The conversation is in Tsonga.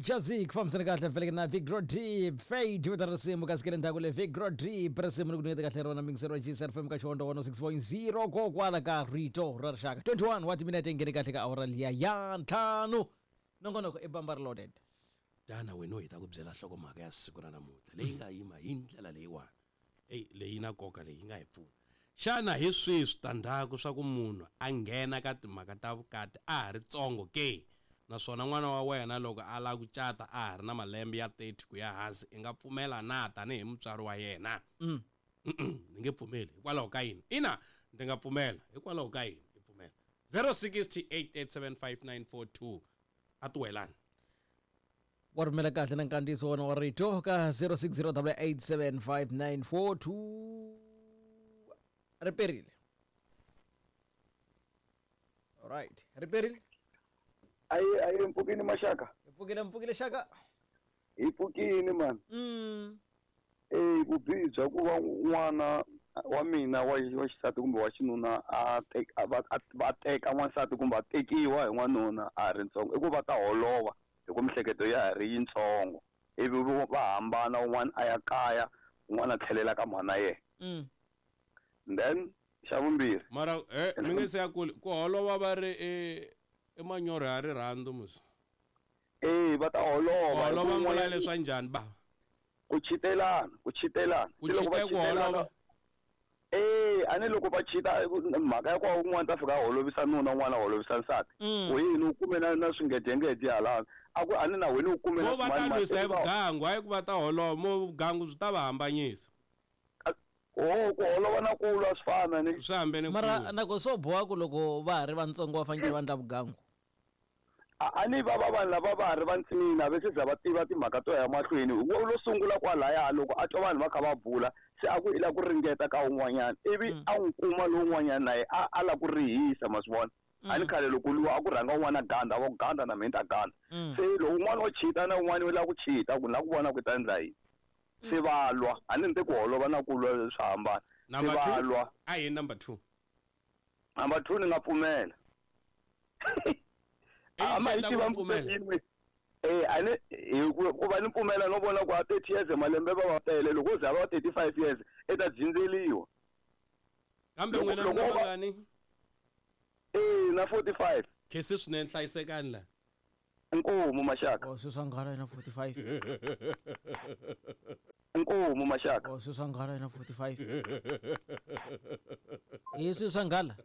Jazi ku fambisana kahle veleke na Big Rodri Fade vito ra risimu kasi ke le ndzhaku le Big Rodri risimu ri ku nyiketa kahle rona mingiseri wa GCR FM ka Xihondzo 106.0 kokwala ka rito ra rixaka 21 wa timinete nghene kahle ka awara liya ya ntlhanu nongonoko i bamba reloaded. Tana wena u hi ta ku byela nhlokomhaka ya siku ra namuntlha leyi nga yima hi ndlela leyiwani. Eyi leyi yi na nkoka leyi yi nga hi pfuna. Xana hi swihi switandzhaku swa ku munhu a nghena ka timhaka ta vukati a ha ri tsongo ke? Naswona n'wana wa wena loko a lava ku cata a ha ri na malembe ya 30 ku ya hansi i nga pfumela na tanihi mutswari wa yena? Ni nge pfumeli. Hikwalaho ka yini? Ina, ndzi nga pfumela. Hikwalaho ka yini i pfumela? 0608875942 a ti welani. Wa rhumela kahle na nkandziyiso wona wa rito ka 0608875942 riperile. Alright, riperile. Ayi ayi mpfukini maxaka. Hi pfukile mpfukile xaka. Hi pfukini man. Eh vubihi bya ku va n'wana wa mina wa wa xisati kumbe wa xinuna a teka va va teka n'wansati kumbe a tekiwa hi n'wanuna a ha ri ntsongo i ku va ta holova hi ku mihleketo ya ha ri yitsongo ivi va hambana un'wana a ya kaya un'wana a tlhelela ka mhana yena. Then xa vumbirhi Mara eh mi nge se ya kule ku holova va ri i i manyoro ya rirhandzu musi. Eh va ta holova. Holova mi vula leswa njhani bava? Ku chitelana, ku chitelana. Ku chite ku holova. Eh a ni loko va chita mhaka ya ku un'wana ta fika a holovisa nuna un'wana a holovisa nsati. Ku yini u kume na na swingedengede halano. A ku a ni na wena u kume na Mo va ta lwisa hi vugangu hayi ku va ta holova mo vugangu byi ta va hambanyisa. Oh ku holova na ku lwa swi fana ni. Swi hambene Mara na ko swo boha ku loko va ha ri vantsongo va fanekele va endla vugangu. A ni va va vanhu lava va ha ri vantsinini a va se za va tiva timhaka to ya mahlweni wo lo sungula kwalaya loko a twa vanhu va kha va bula se a ku i lava ku ringeta ka un'wanyana ivi a n'wi kuma lowun'wanyana na ye a a lava ku rihisa ma swi vona a ni khale loko luwa a ku rhanga un'wana a ganda va ku ganda na mina ni ta ganda se loko un'wana o chita na un'wana u lava ku chita ku ni lava ku vona ku i ta endla yini se va lwa a ni ni te ku holova na ku lwa swa hambana se va lwa a hi number 2 Number 2 ni nga pfumela. A ma yi tiva pfumela. Eh a ni hi ku va ni pfumela no vona ku a 30 years malembe va va tele loko za va 35 years i ta dyindzeliwa. Kambe n'wina mi na mangani? Eh na 45. Khesi swinene hlayisekani la. Inkomu maxaka. Oh sweswi a nghala na 45. Inkomu maxaka. Oh sweswi a nghala na 45. Hi sweswi a nghala.